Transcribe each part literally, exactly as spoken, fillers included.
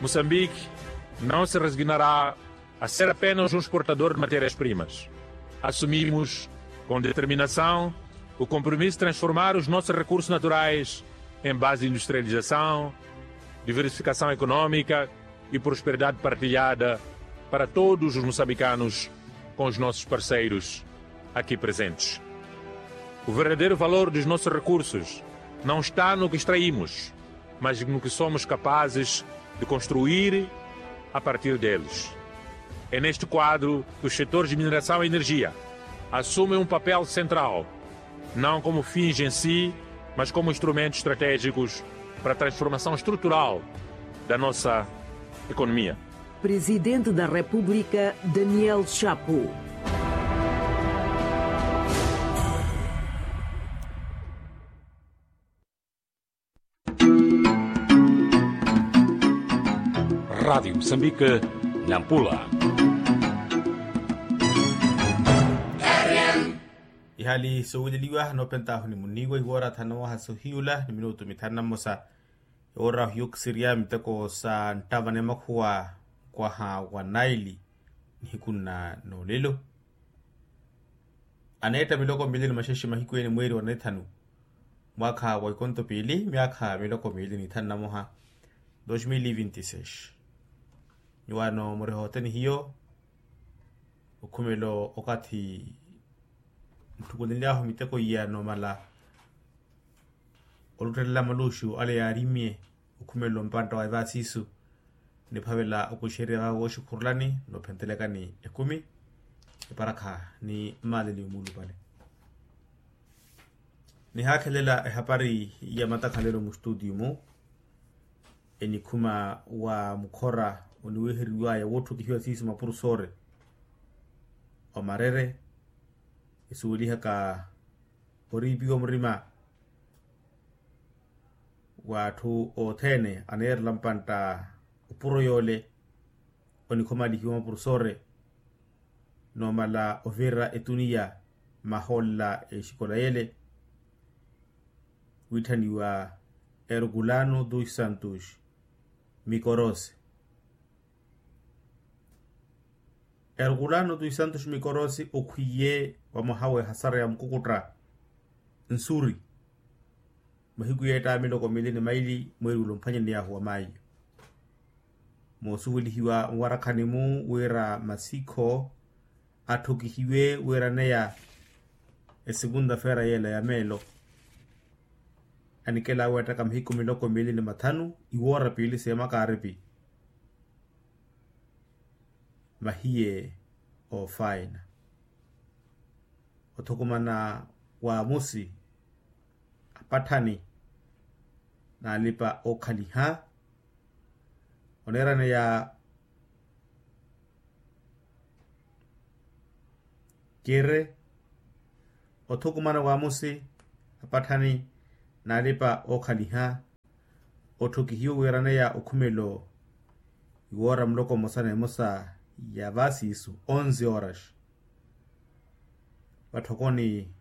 Moçambique não se resignará a ser apenas um exportador de matérias-primas. Assumimos, com determinação, o compromisso de transformar os nossos recursos naturais em base de industrialização, diversificação econômica e prosperidade partilhada para todos os moçambicanos com os nossos parceiros aqui presentes. O verdadeiro valor dos nossos recursos não está no que extraímos, mas no que somos capazes de construir a partir deles. É neste quadro que os setores de mineração e energia assumem um papel central, não como fins em si, mas como instrumentos estratégicos para a transformação estrutural da nossa economia. Presidente da República, Daniel Chapo. Radiyo musambike, nampula. Ihali soowileliwa noopentahu ni muniiwa iwoora thanu waha sohiyula ni minutu mithanu na mmosa. Iwoora hiyo kisiriya miteko sa nttava ni makhuwa nkwaha wa naili nihiku nna noolelo. Aneetta miloko miili ni maxexe mahiku ene mweeri wa nithanu mwaakha wa ikonto piili myaakha miloko miili ni thanu na moha. Dos mil e vinti seis. Nyuwaano muriha othene hiyo okhumelo okathi ntthukulenly'ahu miteko iya noomala oluttelela maluxu ale yaarimmye okhumelo mpantta wa evaasiisu niphavela okuxerya vaawe wooxikhurulani noophentelekani ekumi eparakha ni mmaleli omuulupale. Nihaakhelela ehapari ya matakhalelo mustutiyu-mu enikhuma wa mukhora oniweheriwaya woottukihiwa siisu mapurusoore omarere esuwelihaka oriipiwa murima w'atthu othene aneerela mpantta opuro yoole onikhomalihiwa mapurusoore noomala ovirira etuniya mahoolela exikola yele wiitthaniwa erkulano dos santos mikorosi. Erkulano dos santos mikorosi okhwiye wa mwaha w'ehasara ya mukukutta nsuri mahiku yeetta miloko miili ni maili mweeri ula omphwanyaney'ahu wa maayo. Moosuwelihiwa mwarakhani-mu wira masikho atthukihiwe wiiraneya esikunta feera yeela ya meelo anikela awe attaka mahiku miloko miili ni mathanu iwoora piili seemakaaripi. Mahiye oofaina othukumana waamusi apatthani n'alipa ookhaliha oneeraneya kire othukumana waamusi apatthani n'alipa ookhaliha otthukihiwe wiiraneya okhumelo iwoora muloko mmosa n'emosa ya vaasiisu onze horas vatthokoni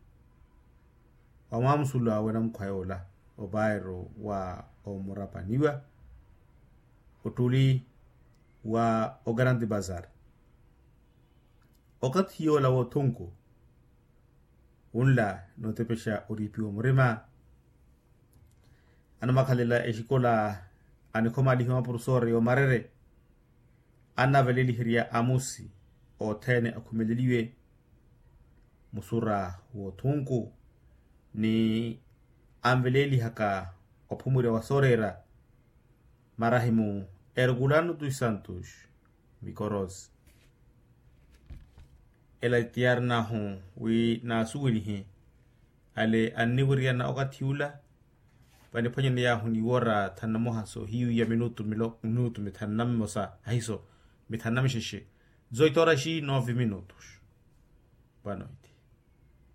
wa mwaamusulu awe namukhwa yoola opaero wa omurapaniwa ottuli wa ogrande bazar. Okathi yoola w'othunku wunla nootepexa oriipiwa murima anamakhalela exikola anikhomalihiwa mapurusoore y'omarere annaveleliherya amusi othene akhumeleliwe musura w'othunku ni anvelelihaka ophumurya wa sooreera marahimu erkulano dos santos mikorosi. Ela tiyarinahu wi naasuwelihe ale anniwiriyana okathi ula vaniphwanyaney'ahu ni woora thanu na moha soohiyu ya minutu minutu mithanu na mmosa ahiso mithanu na mixexe. Zoitoraxi nove minutos. Boa noite.